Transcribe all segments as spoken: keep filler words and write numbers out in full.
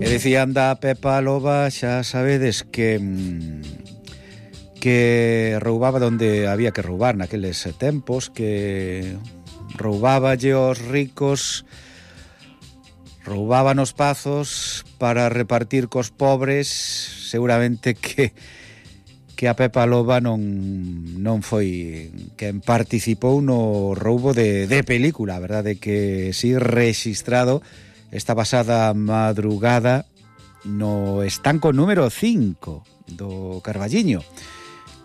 decían da Pepa Loba, xa sabedes que que roubaba donde había que roubar naqueles tempos, que roubaballe aos ricos, roubaba nos pazos para repartir cos pobres. Seguramente que que a Pepa Loba non non foi quen participou no roubo de, de película, a verdade que si rexistrado esta pasada madrugada no estanco número cinco do Carballiño,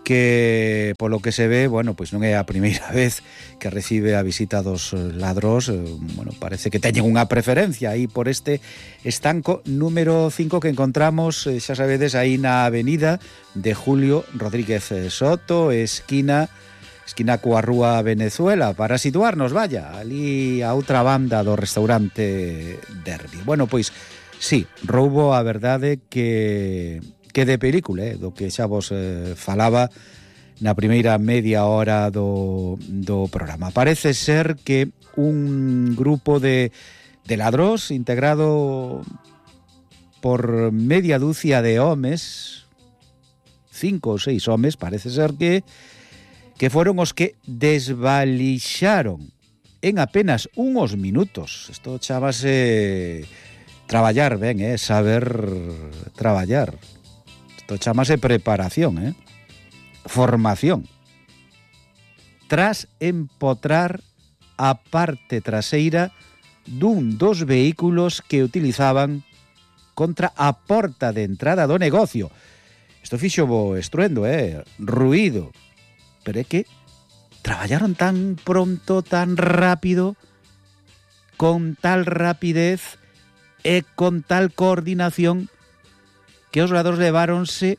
que polo que se ve, bueno, pois non é a primeira vez que recibe a visita dos ladróns. Bueno, parece que teñen unha preferencia aí por este estanco número cinco que encontramos, xa sabedes, aí na avenida de Julio Rodríguez Soto, esquina esquina coa rúa Venezuela, para situarnos, vaya, ali a outra banda do restaurante Derby. Bueno, pois, sí, roubo, a verdade que que de película, eh, do que xa vos eh, falaba na primeira media hora do, do programa. Parece ser que un grupo de, de ladróns integrado por media dúcia de homes, cinco ou seis homes, parece ser que que foron os que desvalixaron en apenas uns minutos. Isto chamase traballar ben, eh, saber traballar. Isto chamase preparación, eh? Formación. Tras empotrar a parte traseira dun dos vehículos que utilizaban contra a porta de entrada do negocio. Isto fixo bo estruendo, eh? Ruído. Pero é que traballaron tan pronto, tan rápido, con tal rapidez e con tal coordinación, que os ladróns leváronse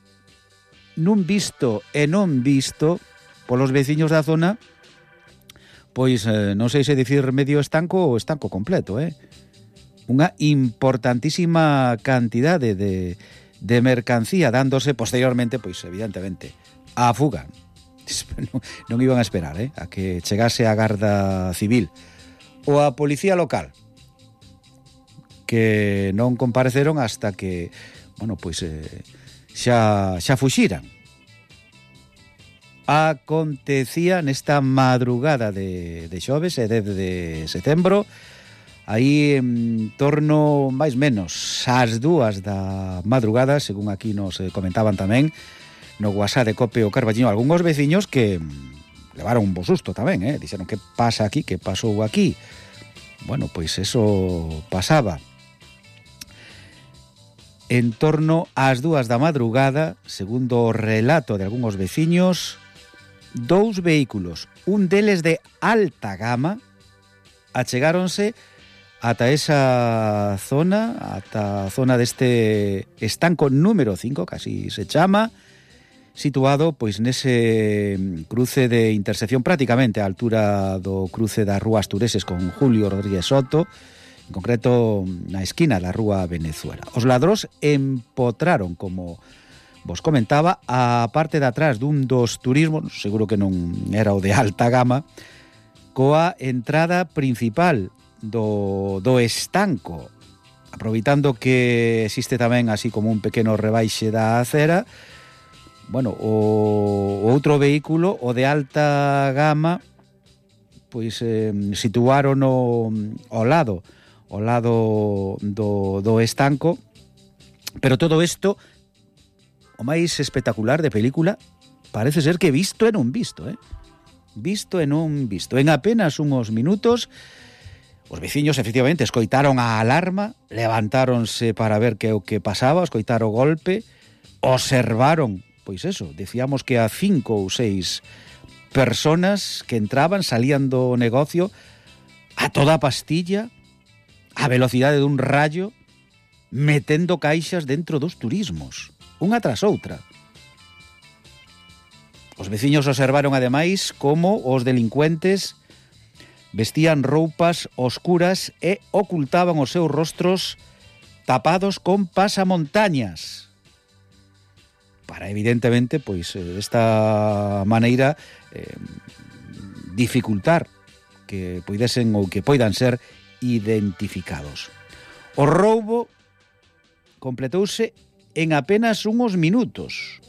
nun visto e non visto polos veciños da zona, pois eh, non sei se dicir medio estanco ou estanco completo, eh? Unha importantísima cantidade de, de mercancía, dándose posteriormente, pois evidentemente, a fuga. Non, non iban a esperar, eh, a que chegase a Garda Civil ou a Policía Local, que non compareceron hasta que, bueno, pois eh, xa, xa fuxiran. Acontecía nesta madrugada de, de xoves e dez de setembro, aí en torno, máis menos, ás dúas da madrugada, según aquí nos comentaban tamén no WhatsApp de Cope o Carballiño, algúns veciños que levaron un bo susto tamén, eh? Dixeron, que pasa aquí, que pasou aquí? Bueno, pois eso pasaba. En torno ás dúas da madrugada, segundo o relato de algúns veciños, dous vehículos, un deles de alta gama, achegáronse ata esa zona, ata a zona deste estanco número cinco, casi se chama, situado pois nese cruce de intersección prácticamente á altura do cruce das rúas Tureses con Julio Rodríguez Soto, en concreto na esquina da rúa Venezuela. Os ladróns empotraron, como vos comentaba, a parte de atrás dun dos turismos, seguro que non era o de alta gama, coa entrada principal do, do estanco, aproveitando que existe tamén así como un pequeno rebaixe da acera. Bueno, o, o outro vehículo, o de alta gama, pois eh, situaron o, ao lado ao lado do, do estanco, pero todo isto, o máis espectacular de película, parece ser que visto e non visto, eh? Visto e non visto. En apenas uns minutos, os veciños efectivamente escoitaron a alarma, levantáronse para ver que o que pasaba, escoitaron o golpe, observaron, pois eso, decíamos que a cinco ou seis personas que entraban, salían do negocio a toda pastilla, a velocidade dun rayo, metendo caixas dentro dos turismos, unha tras outra. Os veciños observaron ademais como os delincuentes vestían roupas oscuras e ocultaban os seus rostros tapados con pasamontañas, para evidentemente, pois, desta maneira eh, dificultar que poidesen ou que poidan ser identificados. O roubo, completouse en apenas uns minutos,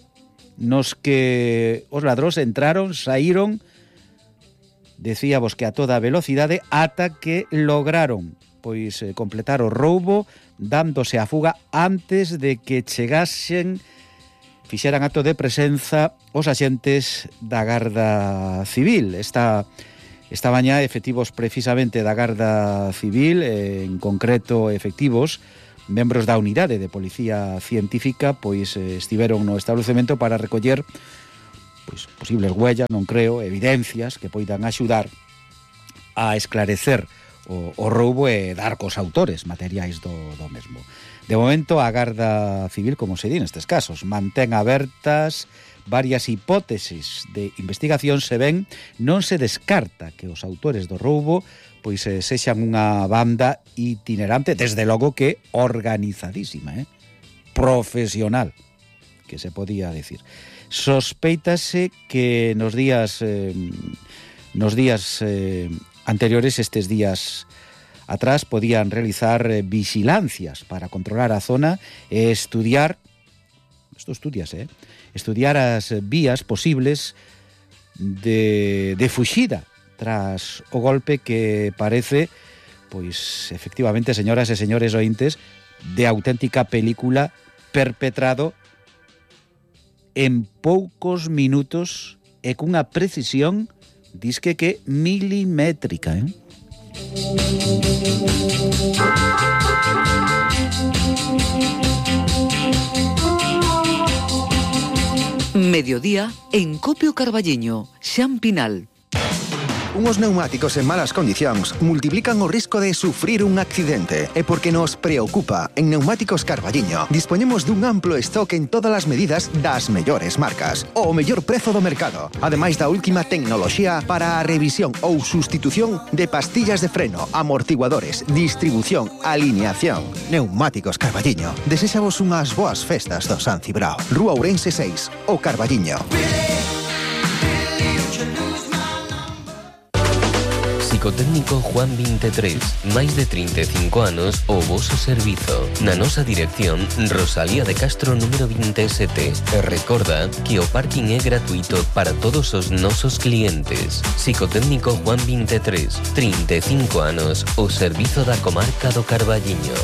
nos que os ladróns entraron, saíron, decíamos que a toda velocidade, ata que lograron pois eh, completar o roubo, dándose a fuga antes de que chegasen, fixeran acto de presenza os axentes da Garda Civil. Esta Esta mañá efectivos precisamente da Garda Civil, eh, en concreto efectivos membros da unidade de Policía Científica, pois eh, estiveron no establecemento para recoller pois posibles huellas, non creo, evidencias que poidan axudar a esclarecer o, o roubo e dar cos autores materiais do, do mesmo. De momento, a Garda Civil, como se di nestes casos, mantén abertas varias hipótesis de investigación. Se ven, non se descarta que os autores do roubo pois eh, sexan unha banda itinerante, desde logo que organizadísima, eh? profesional, que se podía decir. Sospeitase que nos días eh, nos días eh, anteriores, estes días atrás, podían realizar eh, vigilancias para controlar a zona e estudiar, isto estudias, eh? estudiar as vías posibles de, de fuxida tras o golpe que parece, pois, efectivamente, señoras e señores ointes, de auténtica película perpetrado en poucos minutos e cunha precisión, disque que milimétrica, eh? Mediodía en Copio Carballiño, Xan Pinal. Unos neumáticos en malas condicións multiplican o risco de sufrir un accidente. E porque nos preocupa, en Neumáticos Carballiño dispoñemos dun amplo stock en todas as medidas das mellores marcas, o mellor prezo do mercado, ademais da última tecnoloxía para a revisión ou sustitución de pastillas de freno, amortiguadores, distribución, alineación. Neumáticos Carballiño desexamos unhas boas festas do San Cibrao. Rúa Ourense seis, o Carballiño. Psicotécnico Juan veintitrés, máis de trinta e cinco anos o voso servizo. Na nosa dirección, Rosalía de Castro número veintisiete. E recorda que o parking é gratuito para todos os nosos clientes. Psicotécnico Juan veintitrés, trinta e cinco anos, o servizo da comarca do Carballiño.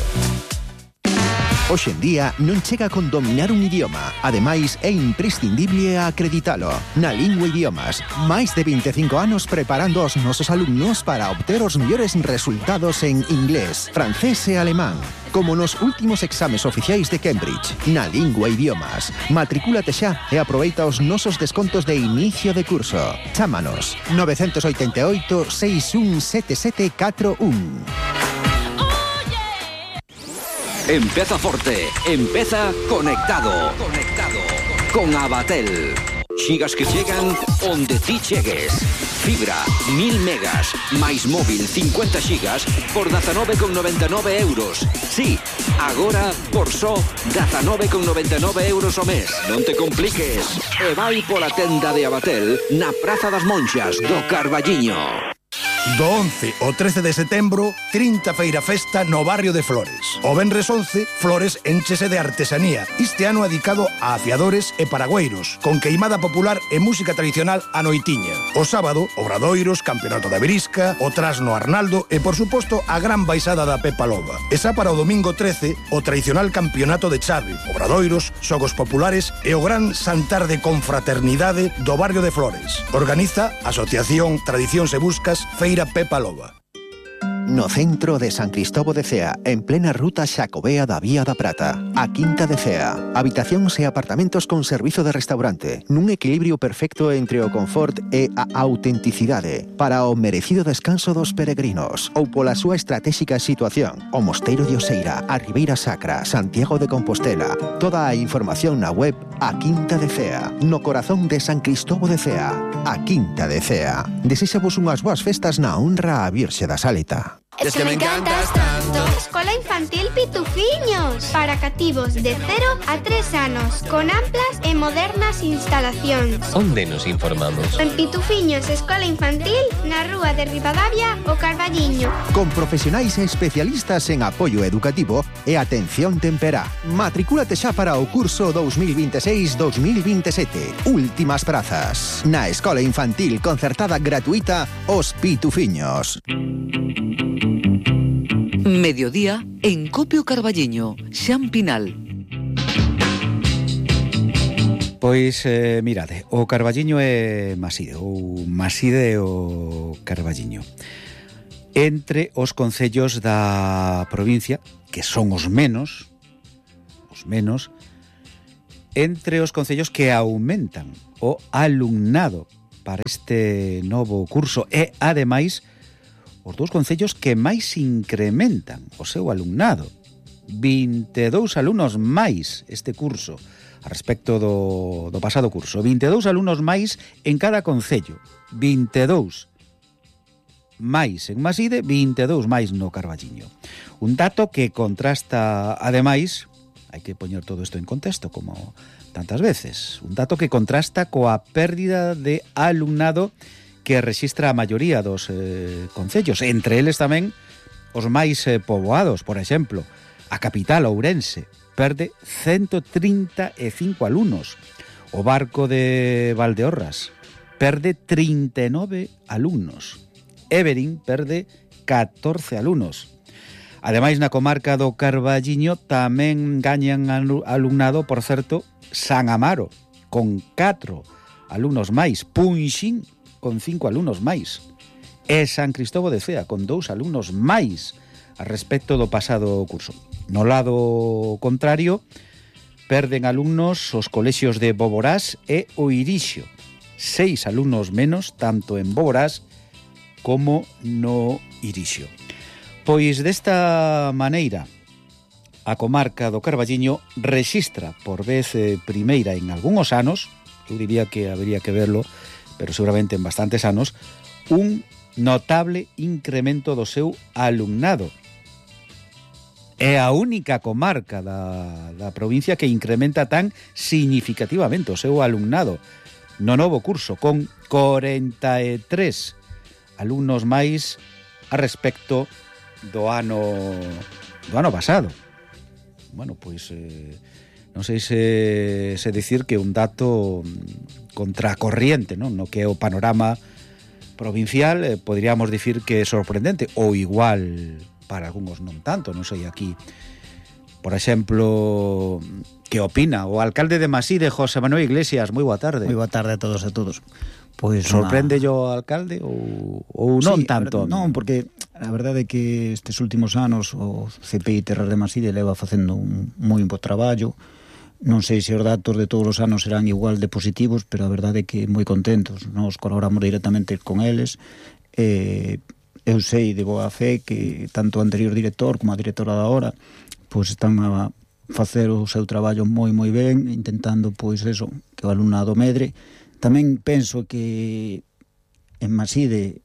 Hoxe en día non chega con dominar un idioma. Ademais, é imprescindible acreditalo. Na Lingua Idiomas, máis de veinticinco anos preparando os nosos alumnos para obter os mellores resultados en inglés, francés e alemán, como nos últimos exames oficiais de Cambridge. Na Lingua Idiomas, matricúlate xa e aproveita os nosos descontos de inicio de curso. Chámanos nove oito oito, seis un sete sete catro un. Empeza forte, empeza conectado. Conectado con Abatel. Xigas que chegan onde ti chegues. Fibra, mil megas, máis móvil cincuenta xigas por dezanove con noventa e nove euros. Sí, agora por só dezanove con noventa e nove euros o mes. Non te compliques. E vai pola tenda de Abatel na Praza das Monxas do Carballiño. Do once ao trece de setembro, trinta feira festa no barrio de Flores. O venres once, Flores énchese de artesanía, este ano dedicado a afiadores e paragüeiros, con queimada popular e música tradicional a noitiña. O sábado, obradoiros, campeonato da Berisca, o trasno Arnaldo e, por suposto, a gran baixada da Pepa Loba. E xa para o domingo trece, o tradicional campeonato de chave, obradoiros, xogos populares e o gran xantar de confraternidade do barrio de Flores. Organiza a Asociación Tradicións e Buscas Feira Pepa Loba. No centro de San Cristóbal de Cea, en plena ruta Xacobea da Vía da Prata, a Quinta de Cea. Habitacións e apartamentos con servizo de restaurante, nun equilibrio perfecto entre o confort e a autenticidade, para o merecido descanso dos peregrinos, ou pola súa estratégica situación, o Mosteiro de Oseira, a Ribeira Sacra, Santiago de Compostela. Toda a información na web A Quinta de Cea, no corazón de San Cristóbal de Cea. A Quinta de Cea. Desexamos unhas boas festas na honra a Virxe da Saleta. Es que me encantas tanto. Escola Infantil Pitufiños, para cativos de cero a tres anos, con amplas e modernas instalacións. Onde nos informamos? En Pitufiños Escola Infantil, na rúa de Ribadavia, o Carballiño. Con profesionais e especialistas en apoio educativo e atención temperá. Matricúlate xa para o curso dos mil veintiséis dos mil veintisiete. Últimas prazas. Na Escola Infantil concertada gratuita Os Pitufiños. Mediodía en Copio Carballiño, Xampinal. Pois, eh, mirade, o Carballiño é Maside, ou Maside o Carballiño. Entre os concellos da provincia, que son os menos, os menos, entre os concellos que aumentan o alumnado para este novo curso e, ademais, os dous concellos que máis incrementan o seu alumnado. vinte e dous alumnos máis este curso a respecto do, do pasado curso. vinte e dous alumnos máis en cada concello. vinte e dous máis en Maside, vinte e dous máis no Carballiño. Un dato que contrasta, ademais, hai que poñer todo isto en contexto, como tantas veces, un dato que contrasta coa pérdida de alumnado que rexistra a maioría dos eh, concellos, entre eles tamén os máis eh, poboados. Por exemplo, a capital Ourense perde ciento trinta e cinco alumnos. O Barco de Valdeorras perde trinta e nove alumnos. Everin perde catorce alumnos. Ademais, na comarca do Carballiño tamén gañan alumnado, por certo, San Amaro, con catro alumnos máis. Punxín, con cinco alumnos máis, e San Cristóbal de Cea, con dous alumnos máis a respecto do pasado curso. No lado contrario, perden alumnos os colexios de Boborás e o Irixio, seis alumnos menos, tanto en Boborás como no Irixio. Pois desta maneira, a comarca do Carballiño rexistra por vez primeira en algúns anos, eu diría que habería que verlo, pero seguramente en bastantes anos, un notable incremento do seu alumnado. É a única comarca da, da provincia que incrementa tan significativamente o seu alumnado no novo curso, con corenta e tres alumnos máis a respecto do ano do ano pasado. Bueno, pois eh, non sei se, se dicir que un dato contracorriente, non? No que é o panorama provincial, eh, poderíamos dicir que é sorprendente, ou igual para algúns non tanto, non sei aquí. Por exemplo, que opina o alcalde de Maside, José Manuel Iglesias? Moi boa tarde. Moi boa tarde a todos e a todos. Pois sorprende una... o alcalde ou, ou non sí, tanto? Non, porque a verdade é que estes últimos anos o C P I Terras de Maside leva facendo un moi bo traballo. Non sei se os datos de todos os anos serán igual de positivos, pero a verdade é que moi contentos. Nos colaboramos directamente con eles. Eh, eu sei de boa fe que tanto o anterior director como a directora da hora pois están a facer o seu traballo moi moi ben, intentando pois eso, que o alumnado medre. Tamén penso que en Maside,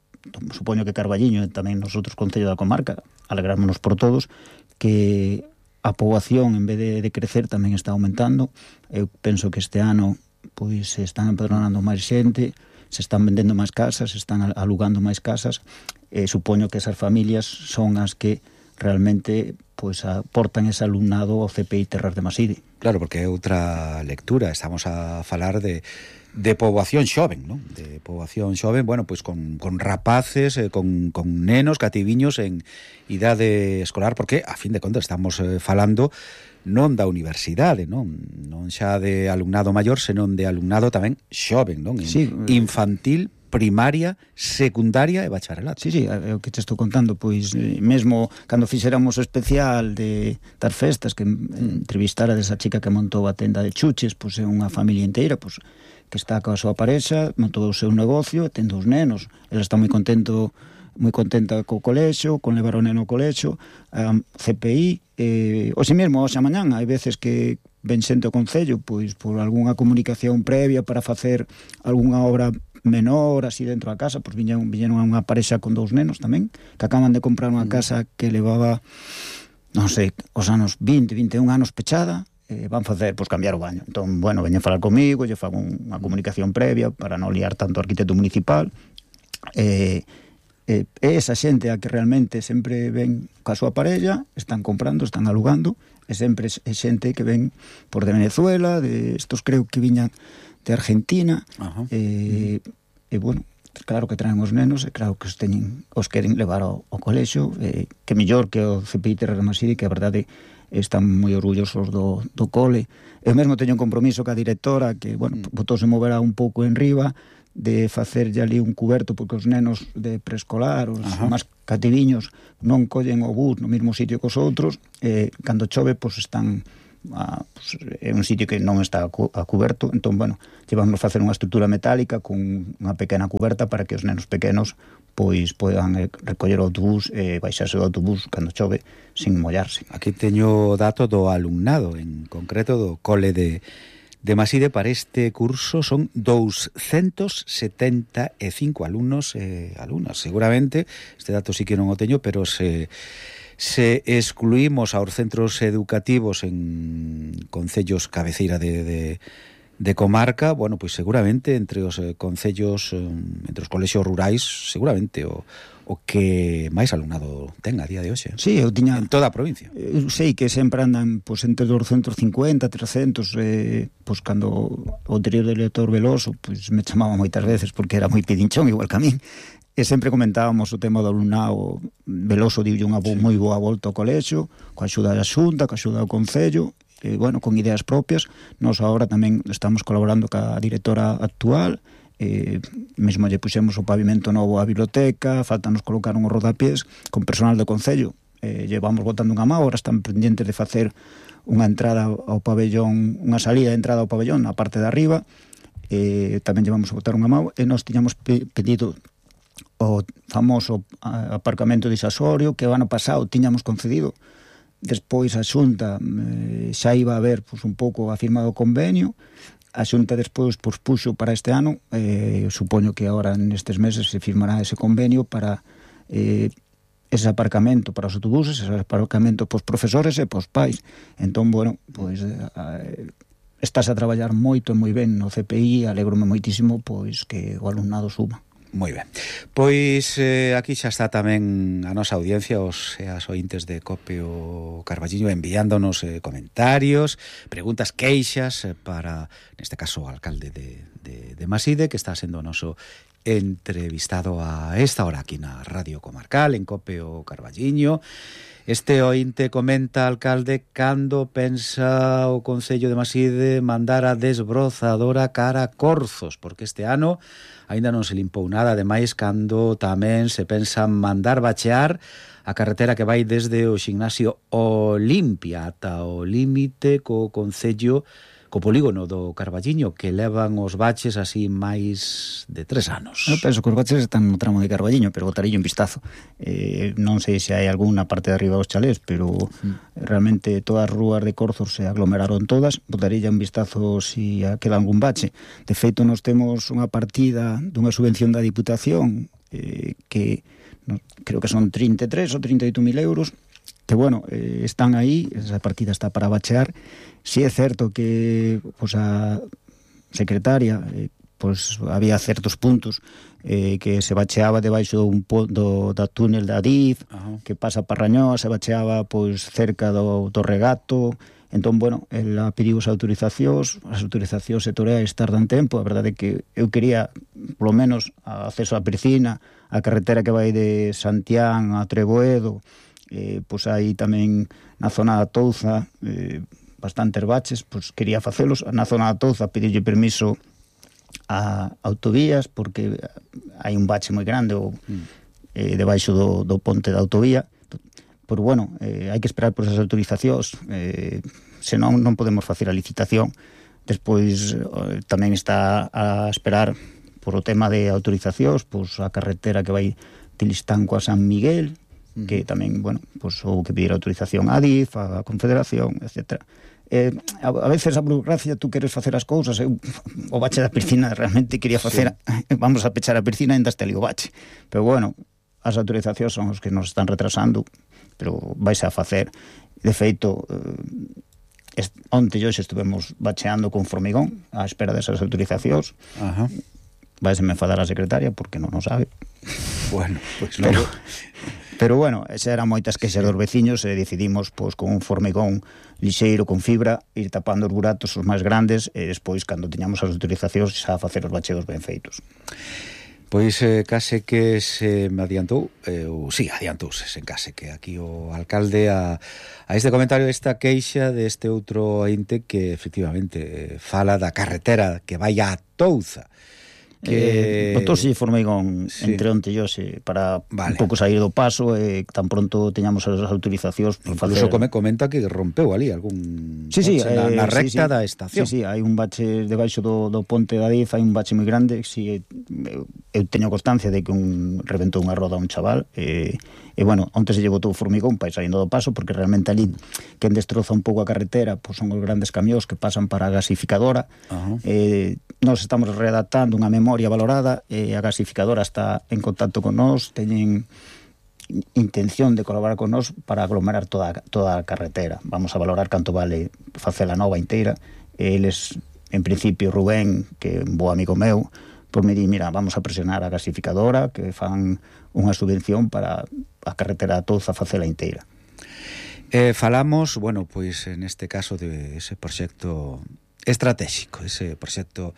supoño que Carballiño e tamén nos outros concellos da comarca, alegrámonos por todos, que a poboación, en vez de, de crecer, tamén está aumentando. Eu penso que este ano pois se están empadronando máis xente, se están vendendo máis casas, se están alugando máis casas, e supoño que esas familias son as que realmente pois aportan ese alumnado ao C P I Terras de Maside. Claro, porque é outra lectura, estamos a falar de de poboación xoven, non? De poboación xoven, bueno, pois con, con rapaces, eh, con, con nenos, cativiños en idade escolar, porque, a fin de contas, estamos eh, falando non da universidade, non? Non xa de alumnado maior, senón de alumnado tamén xoven, non? En sí, infantil, primaria, secundaria e bacharelato. Sí, sí, é o que te estou contando, pois mesmo cando fixéramos o especial de das festas, que entrevistara desa chica que montou a tenda de chuches, pois é unha familia inteira, pois que está coa súa parexa, montou o seu negocio, ten dous nenos, ela está moi contento, moi contenta co colexo, con levar o neno ao colexo, a C P I, eh, hoxe mesmo, hoxe a mañán, hai veces que ven xente ao concello, pois por algunha comunicación previa para facer algunha obra menor así dentro da casa, pois viñeron, viñeron unha parexa con dous nenos tamén, que acaban de comprar unha casa que levaba, non sei, os anos vinte, vinte e un anos pechada, eh, van facer, pois, cambiar o baño. Entón, bueno, veñen falar comigo, lle fago unha comunicación previa para non liar tanto o arquitecto municipal, e eh, é esa xente a que realmente sempre ven ca súa parella, están comprando, están alugando, e sempre é xente que ven por de Venezuela, de estos creo que viñan de Argentina, e, e bueno, claro que traen os nenos, e claro que os teñen, os queren levar ao, ao colexio, e, que mellor que o C P I Terra de Maside, que a verdade están moi orgullosos do, do cole. Eu mesmo teño un compromiso ca directora que, bueno, mm. botouse moverá un pouco en riba, de facerlle ali un cuberto, porque os nenos de preescolar, os Ajá. máis cativiños, non collen o bus no mesmo sitio que os outros, e cando chove, pois están a, pues, é un sitio que non está a, cu- a cuberto, entón, bueno, llevamos a facer unha estrutura metálica con unha pequena cuberta para que os nenos pequenos pois podan recoller o autobús e baixarse do autobús cando chove sin mollarse. Aquí teño dato do alumnado, en concreto do cole de de Maside. Para este curso son doscientos setenta e cinco alumnos e eh, alumnas. Seguramente, este dato sí que non o teño, pero se, se excluímos aos centros educativos en concellos cabeceira de, de, de comarca, bueno, pois seguramente entre os eh, concellos, eh, entre os colexios rurais, seguramente o o que máis alumnado ten a día de hoxe. Sí, eu tiña... En toda a provincia. Eu sei que sempre andan pois, entre doscientos cincuenta, trescentos, eh, pois cando o anterior director Veloso pois, me chamaba moitas veces porque era moi pidinchón, igual que a min, e sempre comentábamos o tema do alumnado. Veloso diulle unha bo, sí. moi boa volta ao colexio, coa axuda da Xunta, coa axuda do Concello, e, bueno, con ideas propias. Nós agora tamén estamos colaborando ca directora actual, eh, mesmo lle puxemos o pavimento novo á biblioteca, faltanos colocar uns rodapiés con personal do Concello, eh, llevamos botando unha má, ahora están pendientes de facer unha entrada ao pabellón, unha salida de entrada ao pabellón na parte de arriba, eh, tamén llevamos a botar unha má, e nós tiñamos pe- pedido o famoso aparcamento disasorio que o ano pasado tiñamos concedido. Despois a Xunta eh, xa iba a ver pois, un pouco a firma do convenio. A Xunta despois pospuxo para este ano, eh, supoño que agora nestes meses se firmará ese convenio para eh, ese aparcamento para os autobuses, ese aparcamento pos profesores e pos pais. Entón, bueno, pois eh, estás a traballar moito e moi ben no C P I, alegrome moitísimo pois que o alumnado suba. Moi ben. Pois eh, aquí xa está tamén a nosa audiencia, os e as ointes de Copio Carballiño, enviándonos eh, comentarios, preguntas, queixas eh, para, neste caso, o alcalde de, de, de Maside, que está sendo o noso entrevistado a esta hora aquí na Radio Comarcal, en Copio Carballiño. Este ointe comenta, alcalde, cando pensa o Concello de Maside mandar a desbrozadora cara a Corzos, porque este ano aínda non se limpou nada, ademais cando tamén se pensa mandar bachear a carretera que vai desde o Ximnasio Olimpia ata o límite co Concello, co polígono do Carballiño, que levan os baches así máis de tres anos. Eu penso que os baches están no tramo de Carballiño, pero botarillo un vistazo. Eh, non sei se hai algunha parte de arriba dos chalés, pero mm. realmente todas as rúas de Corzos se aglomeraron todas. Botarillo un vistazo se si queda algún bache. De feito, nos temos unha partida dunha subvención da Diputación eh, que no, creo que son trinta e tres ou trinta e oito mil euros, que, bueno, eh, están aí, esa partida está para bachear. Si é certo que pues, a secretaria eh, pues, había certos puntos eh, que se bacheaba debaixo dun do, da túnel da Adif, uh-huh. que pasa para Rañoa, se bacheaba pois, cerca do, do Regato. Entón, bueno, ela pediu as autorizacións, as autorizacións sectoriais tardan tempo. A verdade é que eu quería, polo menos, acceso á Pircina, a carretera que vai de Santián a Treboedo, eh, pois aí tamén na zona da Touza, eh, bastantes baches, pois quería facelos. Na zona da Touza pediulle permiso a autovías porque hai un bache moi grande o, eh, debaixo do, do ponte da autovía. Pero bueno, eh, hai que esperar por esas autorizacións, eh, senón non podemos facer a licitación. Despois eh, tamén está a esperar por o tema de autorizacións, pois a carretera que vai de Listanco a San Miguel, uh-huh. que tamén, bueno, pues houve que pedir autorización á D I F, á Confederación, etcétera. Eh, a, a veces a burocracia, tú queres facer as cousas, eu, o bache da piscina realmente quería facer, sí. vamos a pechar a piscina e ainda este ali o bache, pero bueno, as autorizacións son os que nos están retrasando, pero vais a facer. De feito, eh, onte e hoxe estuvemos bacheando con formigón á espera desas autorizacións. Ajá. Vais a me enfadar a secretaria porque non o sabe. Bueno, pois pues pero, no. pero bueno, esa eran moitas queixas dos veciños e decidimos, pois, con un formigón lixeiro, con fibra, ir tapando os buratos os máis grandes e despois, cando tiñamos as autorizacións, xa facer os bacheos ben feitos. Pois eh, case que se me adiantou, eh, ou sí, adiantouse, sen case que aquí o alcalde a, a este comentario, esta queixa deste outro ente que efectivamente eh, fala da carretera que vai a Touza. Que... Eh, botouse formigón sí. entre onte e hoxe para vale. un pouco sair do paso e tan pronto teñamos as autorizacións por incluso facer... come, comenta que rompeu ali algún sí, sí, na, na recta sí, sí. da estación. Sí, sí, hai un bache debaixo do, do ponte da D I F, hai un bache moi grande. Si, eu, eu teño constancia de que un reventou unha roda a un chaval e, e bueno, onte se lle botou formigón para ir saindo do paso, porque realmente ali quen destroza un pouco a carretera pois son os grandes camións que pasan para a gasificadora. Uh-huh. eh, Nos estamos redactando unha memoria valorada e a gasificadora está en contacto con nós, teñen intención de colaborar con nós para aglomerar toda, toda a carretera. Vamos a valorar canto vale facela nova inteira. Eles, en principio, Rubén, que é un bo amigo meu, por me di, mira, vamos a presionar a gasificadora que fan unha subvención para a carretera a Touza facela inteira. Eh, falamos, bueno, pois en este caso de ese proxecto estratégico, ese proxecto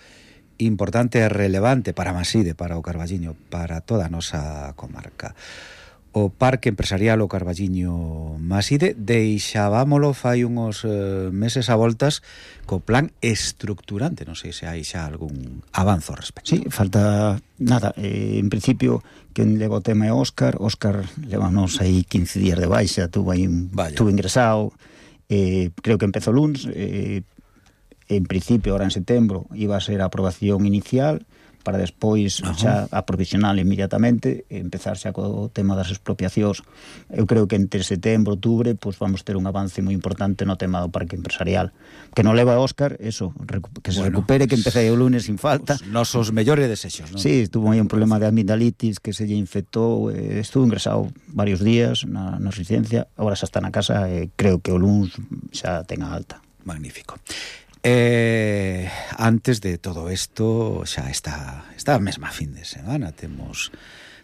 importante e relevante para Maside, para o Carballiño, para toda a nosa comarca. O Parque Empresarial o Carballiño Maside deixábamolo fai uns eh, meses a voltas co plan estructurante, non sei se hai xa algún avanzo ao respecto. Sí, falta nada, eh, en principio quen leva o tema é Óscar. Óscar levanos aí quince días de baixa, tuvo aí un, tuvo ingresado, eh, creo que empezou luns, eh, en principio, ahora en setembro, iba a ser a aprobación inicial para despois xa a provisional inmediatamente e empezar xa co tema das expropiacións. Eu creo que entre setembro e outubro pues, vamos ter un avance moi importante no tema do parque empresarial. Que non leva a Óscar, eso, que se bueno, recupere, que empece o lunes sin falta. Os nosos mellores desexos, non? Sí, tuvo aí un problema de amigdalitis que se lle infectou, eh, estuvo ingresado varios días na, na residencia, agora xa está na casa e creo que o lunes xa ten a alta. Magnífico. Eh, antes de todo isto xa está esta mesma fin de semana temos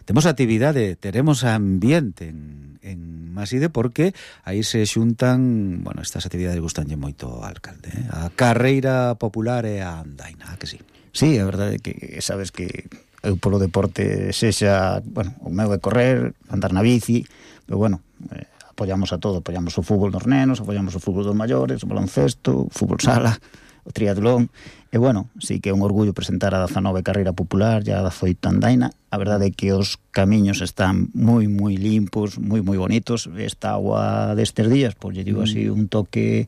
temos actividade, teremos ambiente en, en Maside porque aí se xuntan, bueno, estas actividades gustanlle moito ao alcalde, eh? A carreira popular e a andaina, que sí? Sí, a verdade é que sabes que eu polo deporte sexa, bueno, o meu é correr, andar na bici, pero bueno, eh, apoiamos a todo, apoiamos o fútbol dos nenos, apoiamos o fútbol dos maiores, o baloncesto, o fútbol sala, o triatlón, e bueno, sí que é un orgullo presentar a dezanove carreira popular e a dezoito andaina. A verdade é que os camiños están moi, moi limpos, moi, moi bonitos. Esta agua destes días, pois lle digo así, un toque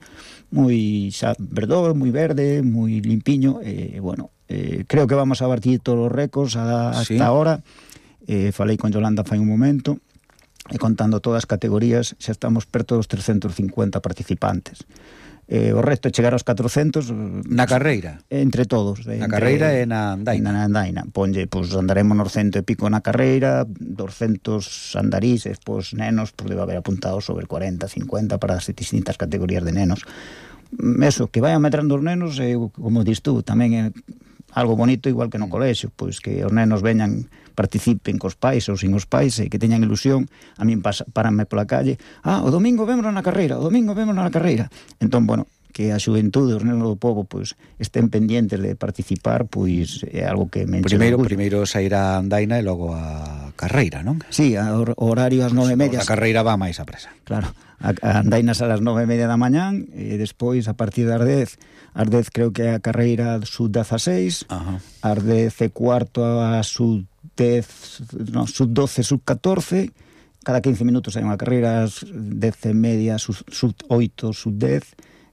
moi xa verdor, moi verde, moi limpiño, e bueno, eh, creo que vamos a batir todos os récords hasta sí. ahora. Eh, falei con Yolanda fai un momento, e contando todas as categorías xa estamos perto dos trescentos cincuenta participantes. Eh, o resto é chegar aos catrocentos na carreira, entre todos, na entre, carreira e na andaina. Na andaina, ponlle, pois andaremos nos cento e pico na carreira, doscientos andarís, e pois nenos, pois debe haber apuntados sobre cuarenta, cincuenta para as distintas categorías de nenos. Eso, que vayan metrando os nenos, e como dis tú, tamén é algo bonito, igual que no colexio, pois que os nenos veñan, participen cos pais ou sin os pais e que teñan ilusión. A min paranme pola calle, ah, o domingo vémonos na carreira, o domingo vémonos na carreira. Entón, bueno, que a xuventude, os nenos do povo, pois, estén pendientes de participar, pois, é algo que me enche Primeiro, orgullo. primeiro sair a andaina e logo a carreira, non? Sí, a hor- horario ás nove e media. A carreira va máis a presa. Claro, a, a andainas a las nove e media da mañán, e despois, a partir das dez, ás dez creo que é a carreira sub dezaseis, ás dez e cuarto a sub dez, no, sub doce, sub catorce, cada quince minutos hai unha carreira, ás dez e media, sub, sub oito, sub dez,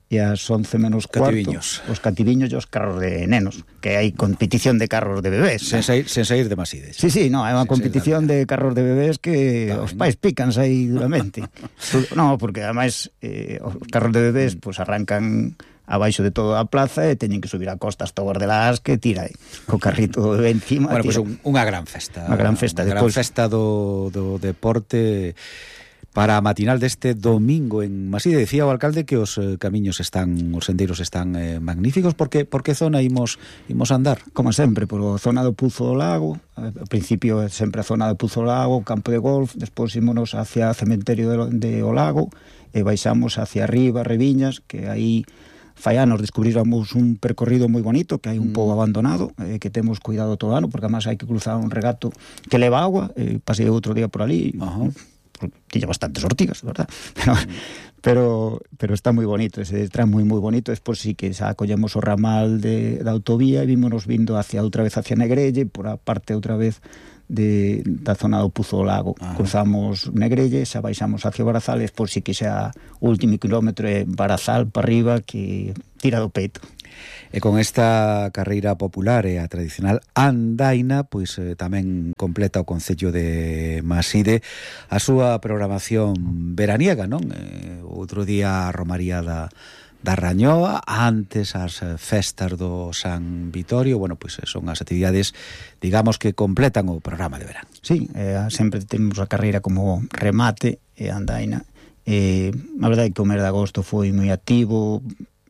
e ás once menos cuarto cativiños. os cativiños e os carros de nenos, que hai competición de carros de bebés. Sen sair, sen sair de Maside. Sí, sí, no, é unha competición de carros de bebés que Vale, os pais pícanse aí duramente. No, porque ademais eh, os carros de bebés pues, arrancan abaixo de toda a plaza e teñen que subir a costa hasta o Guardelás que tira aí, co carrito de bebé encima. Bueno, pois pues un, unha gran festa. Unha gran festa. Unha Despois, gran festa do, do deporte para a matinal deste domingo en Maside. Decía o alcalde que os eh, camiños están, os sendeiros están eh, magníficos. Por que, por que zona imos, imos andar? Como sempre, por a zona do Puzo do Lago. Ao principio é sempre a zona do Puzo do Lago, campo de golf, despois ímonos hacia o cementerio de, de o Lago e baixamos hacia arriba, Reviñas, que aí fai anos descubriramos un percorrido moi bonito, que hai un mm. pouco abandonado, eh, que temos cuidado todo ano, porque además hai que cruzar un regato que leva agua, eh, pasei outro día por ali, uh-huh. tiña bastantes ortigas, verdad? Pero, mm. pero, pero está moi bonito, ese tramo moi moi bonito. Despois sí que xa collemos o ramal de, da autovía e vímonos vindo hacia outra vez hacia Negrelle, por a parte outra vez de, da zona do Puzo do Lago. Ah. Cruzamos Negrelle, xa baixamos hacia Barazal, e despois sí que xa o último kilómetro é Barazal para arriba, que tira do peito. E con esta carreira popular e a tradicional andaina, pois eh, tamén completa o concello de Maside a súa programación veraniega, non? Eh, outro día a Romaría da, da Rañoa, antes as festas do San Vitorio. Bueno, pois son as actividades, digamos, que completan o programa de verán. Sí, eh, sempre temos a carreira como remate e andaina. Eh, a verdade é que o mes de agosto foi moi activo.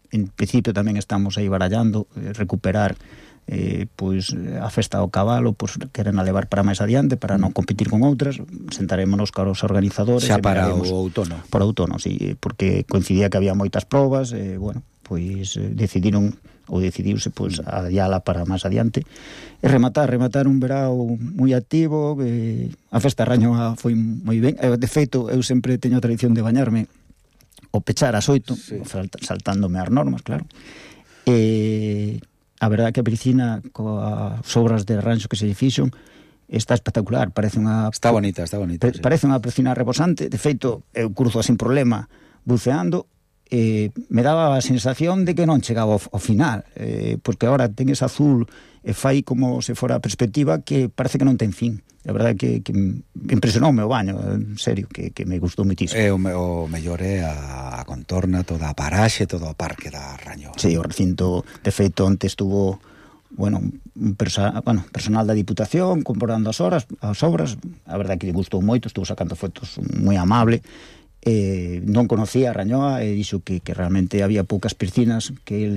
En principio tamén estamos aí barallando eh, recuperar eh, pois a festa do cabalo, pois queren a levar para máis adiante para non competir con outras. Sentarémonos con os organizadores xa para o outono. Para o outono, sí, porque coincidía que había moitas probas e, eh, bueno, pois eh, decidiron ou decidiuse pois adiala para máis adiante e rematar, rematar un verao moi activo. Eh, a festa Rañoa foi moi ben. Eh, de feito, eu sempre teño a tradición de bañarme o pechar as oito, sí. saltándome as normas, claro. E a verdade que a piscina coas obras de ranxo que se fixon está espectacular, parece unha... Está bonita, está bonita. Pa, sí. Parece unha piscina rebosante. De feito, eu cruzo sin problema buceando, e me daba a sensación de que non chegaba ao, ao final, eh, porque agora ten ese azul e fai como se fora a perspectiva que parece que non ten fin. A verdade que, que impresionoume o baño, en serio, que, que me gustou moitísimo. É o, o mellor é a, a contorna, toda a paraxe, todo o parque da Rañoa. Sí, o recinto, de feito, onte estuvo, bueno, un persa, bueno, personal da Diputación comprando as horas, as obras. A verdade que lle gustou moito, estuvo sacando fotos moi amable. Eh, non conocía a Rañoa e dixo que, que realmente había poucas piscinas que el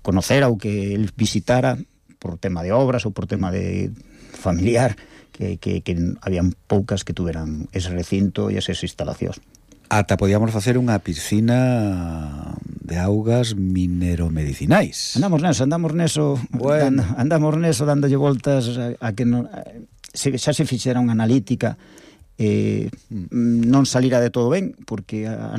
conocera ou que el visitara por tema de obras ou por tema de familiar, que, que, que habían poucas que tuveran ese recinto e esas instalacións. Ata podíamos facer unha piscina de augas mineromedicinais. Andamos neso, andamos neso, bueno. and, andamos neso dándolle voltas a, a que non, a, se, xa se fixera unha analítica, eh, mm. non salira de todo ben, porque a, a,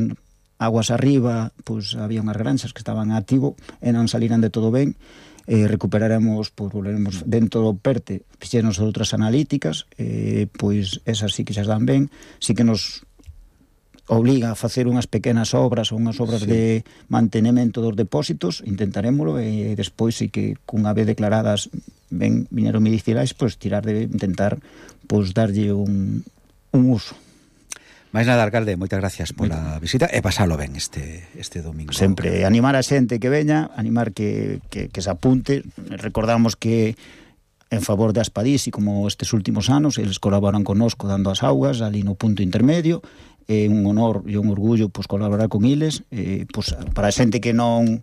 aguas arriba, pois había unhas granxas que estaban activo e non saliran de todo ben. Eh, recuperaremos, pois volveremos dentro do PERTE, fixernos outras analíticas, eh, pois esas sí que xa dan ben, sí que nos obliga a facer unhas pequenas obras ou unhas obras sí. de mantenimento dos depósitos, intentarémolo, e despois sí que cunha vez declaradas ben mineromedicinais, pois tirar de intentar pois darlle un, un uso. Mais nada, alcalde, moitas gracias pola visita e pasalo ben este, este domingo. Sempre animar a xente que veña, animar que, que, que se apunte. Recordamos que en favor de Aspadís, e como estes últimos anos, eles colaboran connosco dando as augas ali no punto intermedio. É un honor e un orgullo pois, colaborar con eles. Eh, pois, para a xente que non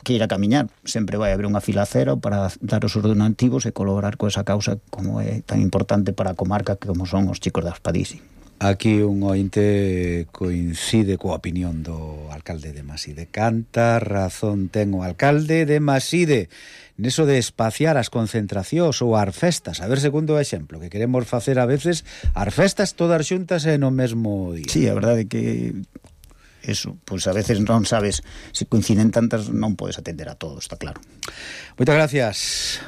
que ir a camiñar, sempre vai haber unha fila cero para dar os ordenativos e colaborar con esa causa como é tan importante para a comarca como son os chicos de Aspadís. Aquí un ointe coincide coa opinión do alcalde de Maside. Canta razón ten o alcalde de Maside neso de espaciar as concentracións ou as festas. A ver, segundo o exemplo, que queremos facer a veces as festas todas xuntas e no mesmo día. Sí, a verdade que eso, pois a veces non sabes, se coinciden tantas non podes atender a todo, está claro. Moitas gracias,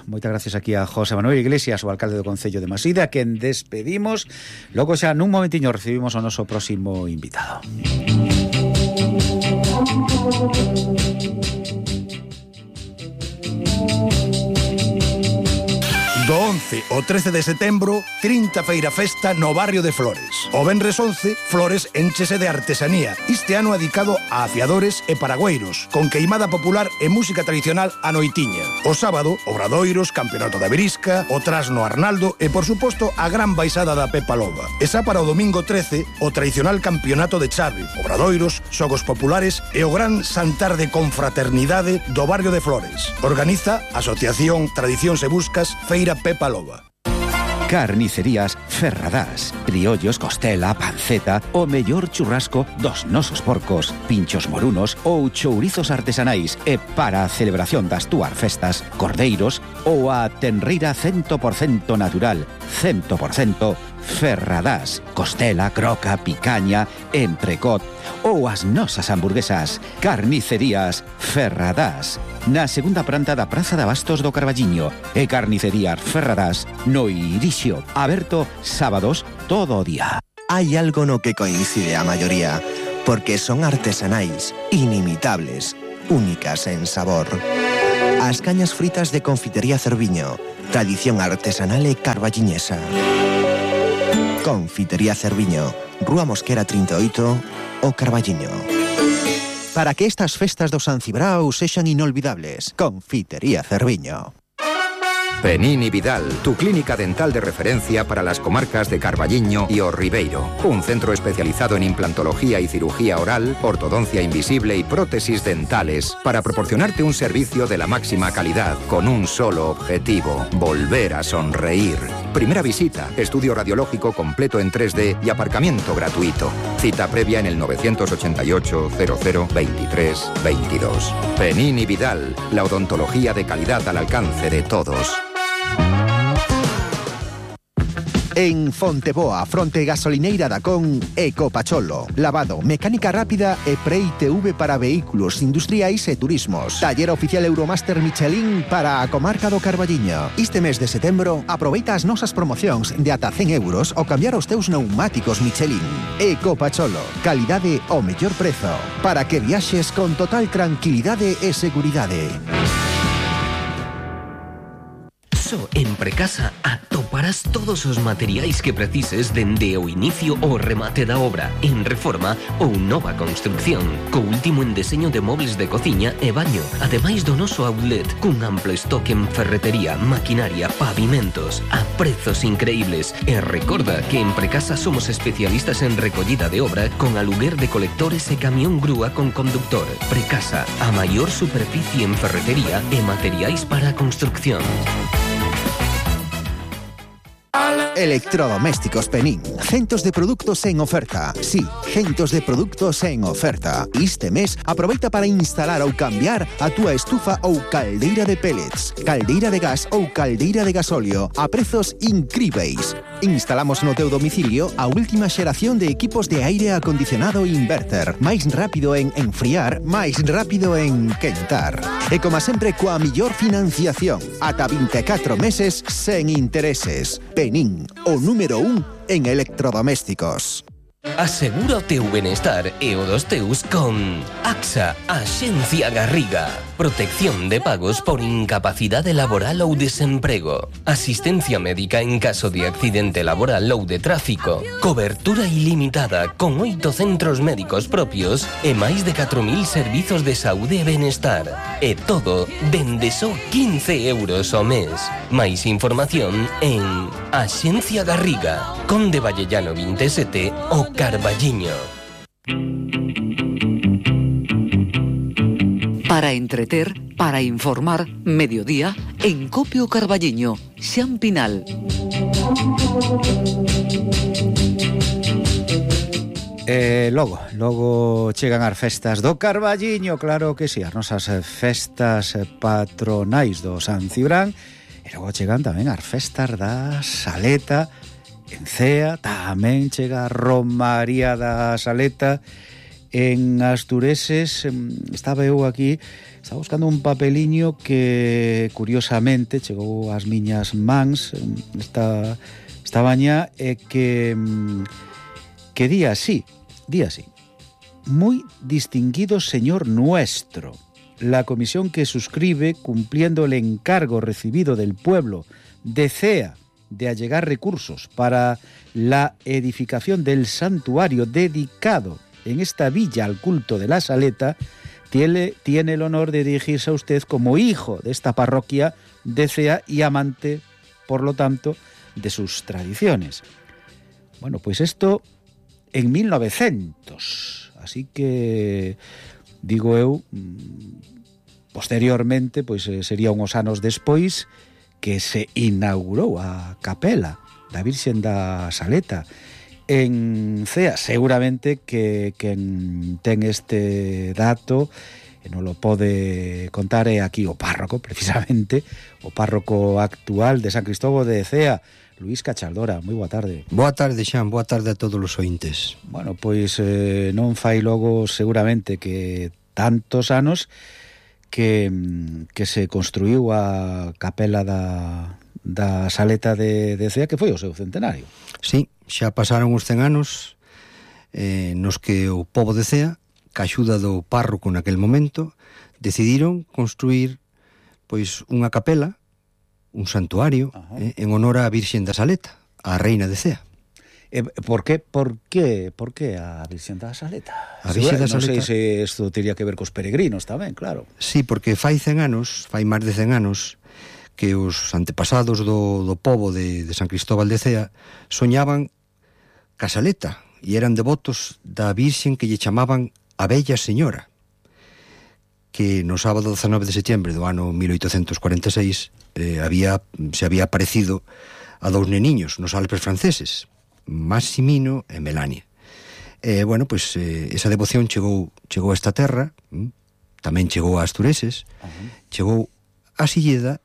moitas gracias aquí a José Manuel Iglesias, o alcalde do Concello de Maside, a quen despedimos. Logo xa nun momentiño recibimos o noso próximo invitado. Do once ao trece de setembro, trinta feira festa no barrio de Flores. O venres once, Flores enchese de artesanía, este ano dedicado a afiadores e paragüeiros, con queimada popular e música tradicional a noitiña. O sábado, obradoiros, campeonato da Verisca, o trasno Arnaldo e, por suposto, a gran baixada da Pepa Loba. E xa para o domingo trece, o tradicional campeonato de chave, obradoiros, xogos populares e o gran santar de confraternidade do barrio de Flores. Organiza a Asociación Tradicións e Buscas Feira Pepa Loba. Carnicerías Ferradás. Criollos, costela, panceta, o mellor churrasco dos nosos porcos, pinchos morunos ou chourizos artesanais e para a celebración das túas festas, cordeiros ou a tenreira cento por cento natural, cento por cento Ferradás, costela, croca, picaña, entrecot ou as nosas hamburguesas. Carnicerías Ferradás, na segunda planta da Praza de Abastos do Carballiño, e Carnicerías Ferradás no Irixio, aberto sábados todo o día. Hai algo no que coincide a maioría, porque son artesanais, inimitables, únicas en sabor. As cañas fritas de Confitería Cerviño, tradición artesanal e carballiñesa. Confitería Cerviño, Rúa Mosquera trinta e oito, o Carballiño. Para que estas festas do San Cibrao sexan inolvidables, Confitería Cerviño. Penín y Vidal, tu clínica dental de referencia para las comarcas de Carballiño y O Ribeiro. Un centro especializado en implantología y cirugía oral, ortodoncia invisible y prótesis dentales para proporcionarte un servicio de la máxima calidad con un solo objetivo: volver a sonreír. Primera visita, estudio radiológico completo en tres D y aparcamiento gratuito. Cita previa en el nueve ocho ocho, cero cero, veintitrés, veintidós. Penín y Vidal, la odontología de calidad al alcance de todos. En Fonteboa, fronte gasolineira da Con, Ecopacholo. Lavado, mecánica rápida e Pre-I T V para vehículos industriais e turismos. Taller oficial Euromaster Michelin para a comarca do Carballiño. Este mes de setembro, aproveita as nosas promocións de ata cen euros ao cambiar os teus pneumáticos Michelin. Ecopacholo, calidade ao mellor prezo, para que viaxes con total tranquilidade e seguridade. Só en Precasa atoparás todos os materiais que precises dende o inicio ao remate da obra, en reforma ou nova construcción, co último en deseño de mobles de cociña e baño, ademais do noso outlet, cun amplo stock en ferretería, maquinaria, pavimentos, a prezos increíbles. E recorda que en Precasa somos especialistas en recollida de obra con aluguer de colectores e camión grúa con conductor. Precasa, a maior superficie en ferretería e materiais para a construcción. Electrodomésticos Penín. Centos de produtos en oferta. Sí, centos de produtos en oferta. Este mes, aproveita para instalar ou cambiar a túa estufa ou caldeira de pellets, caldeira de gas ou caldeira de gasóleo a prezos incríveis. Instalamos no teu domicilio a última xeración de equipos de aire acondicionado inverter. Máis rápido en enfriar, máis rápido en quentar. E como sempre, coa millor financiación. Ata vinte e catro meses sen intereses. Penín, o número un en electrodomésticos. Asegura o teu benestar e o dos teus con AXA, Axencia Garriga. Protección de pagos por incapacidade laboral ou desemprego. Asistencia médica en caso de accidente laboral ou de tráfico. Cobertura ilimitada con oito centros médicos propios e máis de catro mil servizos de saúde e benestar. E todo dende só quince euros ao mes. Máis información en Axencia Garriga, Conde Vallellano vinte e sete, o Carballiño. Para entreter, para informar, mediodía, en Copio Carballiño, Xampinal. E logo, logo chegan as festas do Carballiño, claro que si, as nosas festas patronais do San Cibrán, e logo chegan tamén as festas da Saleta, en Cea, tamén chega a Romaría da Saleta. En Astureses, estaba eu aquí, estaba buscando un papeliño que curiosamente chegou ás miñas mans esta, esta baña, e que que día así, día así. muy distinguido señor nuestro. La comisión que suscribe, cumpliendo el encargo recibido del pueblo, desea de allegar recursos para la edificación del santuario dedicado en esta villa al culto de la Saleta, tiene, tiene el honor de dirigirse a usted como hijo de esta parroquia de Cea y amante, por lo tanto, de sus tradiciones. Bueno, pues esto en mil novecientos, así que, digo eu, posteriormente, pois sería uns anos despois que se inaugurou a capela da Virxen da Saleta en Cea. Seguramente que quen ten este dato e non lo pode contar é aquí o párroco, precisamente, o párroco actual de San Cristóbal de Cea, Luís Cachaldora. Moi boa tarde. Boa tarde, Xan, boa tarde a todos os ointes. Bueno, pois eh, non fai logo seguramente que tantos anos que, que se construiu a capela da, da Saleta de, de Cea, que foi o seu centenario. Sí, xa pasaron os cen anos eh, nos que o pobo de Cea, ca axuda do párroco naquel momento, decidiron construir pois unha capela, un santuario, eh, en honor á Virxen da Saleta, a reina de Cea. Eh, por qué, por qué, por qué a Virxen da Saleta? A Virxen da Saleta... Non sei se isto teria que ver cos peregrinos tamén, claro. Sí, porque fai cen anos, fai máis de cen anos, que os antepasados do, do pobo de, de San Cristóbal de Cea soñaban ca Saleta e eran devotos da Virxen que lle chamaban a Bella Señora, que no sábado dezanove de setembro do ano mil oitocentos cuarenta e seis eh, había, se había aparecido a dous neniños nos Alpes franceses, Massimino e Melania. E, bueno, pois, eh, esa devoción chegou, chegou a esta terra, hm? tamén chegou a Astureses, uh-huh. chegou a Silleda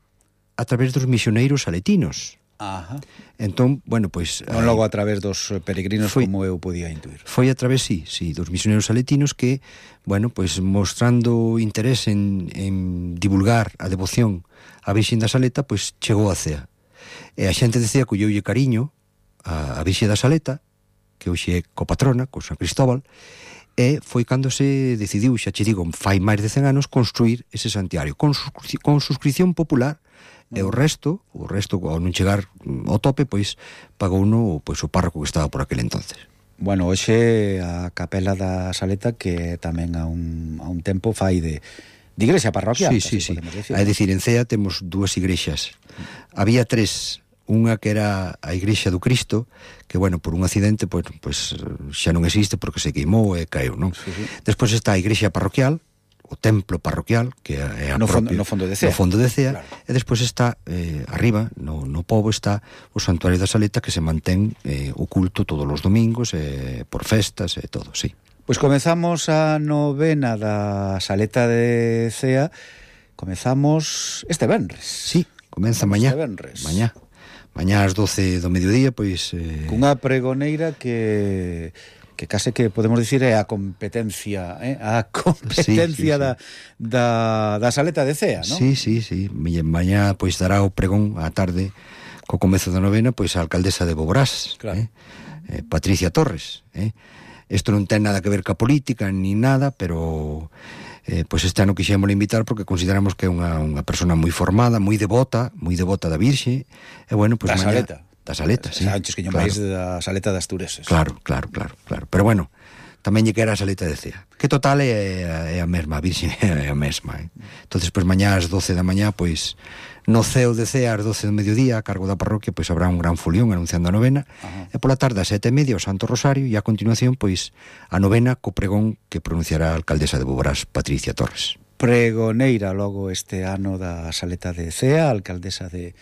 a través dos misioneiros saletinos. Ajá. Entón, bueno, pois... Non logo a través dos peregrinos, foi, como eu podía intuir. Foi a través, sí, sí, dos misioneiros saletinos que, bueno, pois mostrando interés en, en divulgar a devoción á Virxen da Saleta, pois chegou a Cea. E a xente de Cea colleulle cariño a, a Virxe da Saleta, que hoxe é copatrona, con San Cristóbal, e foi cando se decidiu, xa che digo, fai máis de cen anos, construir ese santuario, con, suscri con suscripción popular, e o resto, o resto, ao non chegar ao tope, pois, pagou uno, pois, o párroco que estaba por aquel entonces. Bueno, hoxe a capela da Saleta, que tamén a un, a un tempo fai de, de igrexa parroquial. Sí, sí, sí. É dicir, en Cea temos dúas igrexas. Había tres. Unha que era a Igrexa do Cristo, que, bueno, por un accidente, pois, pois xa non existe porque se queimou e caeu, non? Sí, sí. Despois está a Igrexa parroquial, o templo parroquial, que é a no, propia, fondo, no fondo de Cea. No fondo de Cea, claro. E despois está, eh, arriba, no, no pobo, está o Santuario da Saleta, que se mantén eh, oculto todos os domingos, eh, por festas e todo, sí. Pois comezamos a novena da Saleta de Cea, comezamos este venres. Sí, comeza mañá. Este venres. Mañá. Mañá ás doce do mediodía, pois... Eh... Cunha pregoneira que que case que podemos dicir é a competencia, eh? a competencia sí, sí, sí. Da, da, da Saleta de Cea, non? Sí, sí, sí. Mañá, pois, dará o pregón á tarde, co comezo da novena, pois, a alcaldesa de Boborás, claro. eh? Eh, Patricia Torres. Eh? Isto non ten nada que ver ca política, ni nada, pero... Eh, pois este ano quixémosle invitar porque consideramos que é unha, unha persona moi formada, moi devota, moi devota da Virxe, e bueno, pois da mañá, Saleta. Da Saleta, sí. Antes que claro. Da Saleta das Astureses. Claro, claro, claro, claro. Pero bueno, tamén lle quera a Saleta de Cea. Que total é, é a mesma, a Virxe é a mesma. Eh? Entonces, pois mañá ás doce da mañá, pois no ceo de Cea ás doce do mediodía, a cargo da parroquia, pois habrá un gran folión anunciando a novena. Ajá. E pola tarde a sete e media o Santo Rosario, e a continuación, pois, a novena co pregón que pronunciará a alcaldesa de Boborás, Patricia Torres. Pregoneira logo este ano da Saleta de Cea, alcaldesa de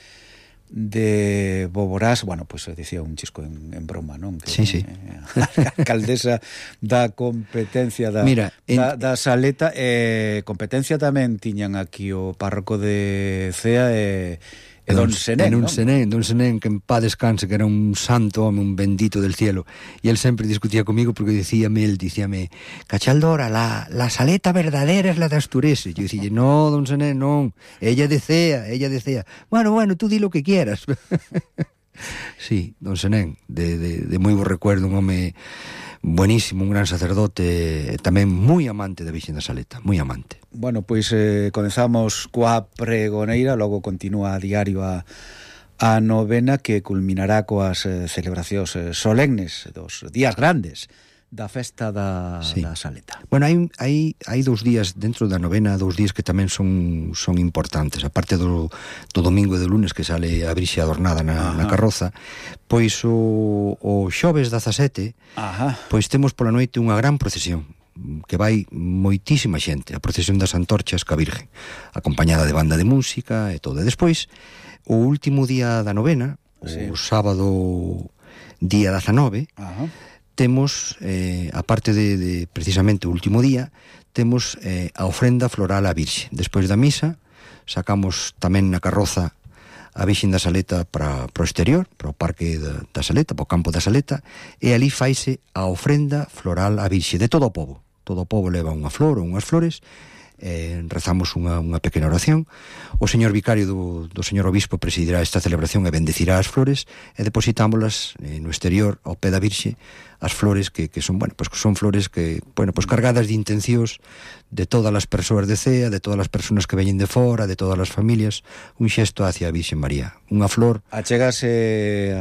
de Boborás, bueno, pois pues, dicía un chisco en, en broma, non? Que, sí, sí. Eh, alcaldesa da competencia da, Mira, en... da, da Saleta, eh, competencia tamén tiñan aquí o párroco de Cea e, e don Senén, non? Don Senén, don Senén, que en paz descanse, que era un santo home, un bendito del cielo, e él sempre discutía comigo porque dicíame, él dicíame, Cachaldora, la, la Saleta verdadera es la de Astureses. Yo dicía, no, don Senén, non, ella de Cea, ella de Cea. Bueno, bueno, tú di lo que quieras. Sí, don Senén, de, de, de moi bo recuerdo, un home buenísimo, un gran sacerdote, tamén moi amante da Virxen da Saleta, moi amante. Bueno, pois eh, comenzamos coa pregoneira, logo continúa a diario a, a novena que culminará coas eh, celebracións eh, solemnes dos días grandes da festa da, sí. da Saleta. Bueno, hai, hai, hai dous días dentro da novena, dous días que tamén son son importantes, aparte do, do domingo e do lunes que sale a Virxe adornada na, na carroza, pois o, o xoves dezasete, Ajá. pois temos pola noite unha gran procesión que vai moitísima xente, a procesión das antorchas ca Virgen, acompañada de banda de música e todo. E despois, o último día da novena, sí. o sábado día dezanove, Ajá. temos, eh, aparte de, de precisamente o último día, temos eh, a ofrenda floral á Virxe. Despois da misa, sacamos tamén na carroza a Virxen da Saleta para, para o exterior, para o parque da, da Saleta, para o campo da Saleta, e ali faise a ofrenda floral á Virxe de todo o pobo. Todo o pobo leva unha flor ou unhas flores, eh, rezamos unha, unha pequena oración. O señor vicario do, do señor obispo presidirá esta celebración e bendecirá as flores e depositámolas eh, no exterior ao pé da Virxe, as flores que, que son, bueno, pues son flores que, bueno, pues cargadas de intencións de todas as persoas de Cea, de todas as persoas que veñen de fora, de todas as familias, un xesto hacia a Virxe María, unha flor. Achégase